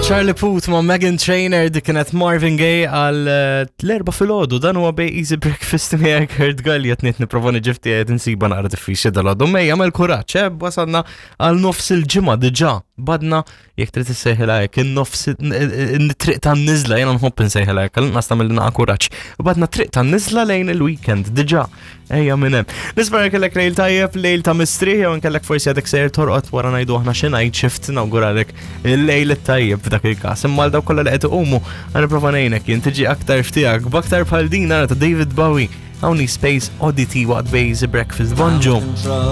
Charlie Puth ma' Megan Trainer dik kienet Marvin Gaye għal eh, l-erba filgħodu dan huwa bej Easy Breakfast miegħek Kurt Galli qed ngħid nipprova niġifti qed insiba naqra diffiċli dal-għodu. Mejja għamel kuraġġ, eh, wasalna għal nofs il-ġimgħa diġà badna jekk trid issejħilha hekk in-nofs it-triq tan-niżla jiena nħobb insejħilha hekk għal-inqas tagħmel naqa' kuraġġ. Badna triq tan-niżla lejn il-weekend diġà. Ejja minn hemm. Nispera kellek lejl tajjeb, lejl ta' mistrieħ jew nkellek forsi għadek sejjer torqod wara ngħidu aħna xi night shift nawguralek il-lejl tajjeb f'dak il-każ. Imma għal dawk kollha li qed iqumu ħa nipprova ngħinek jien tiġi aktar ftiegħek b'aktar bħal din nara ta' David Bowie. Hawn Space Oddity waqt Bejz Breakfast. Bonġu.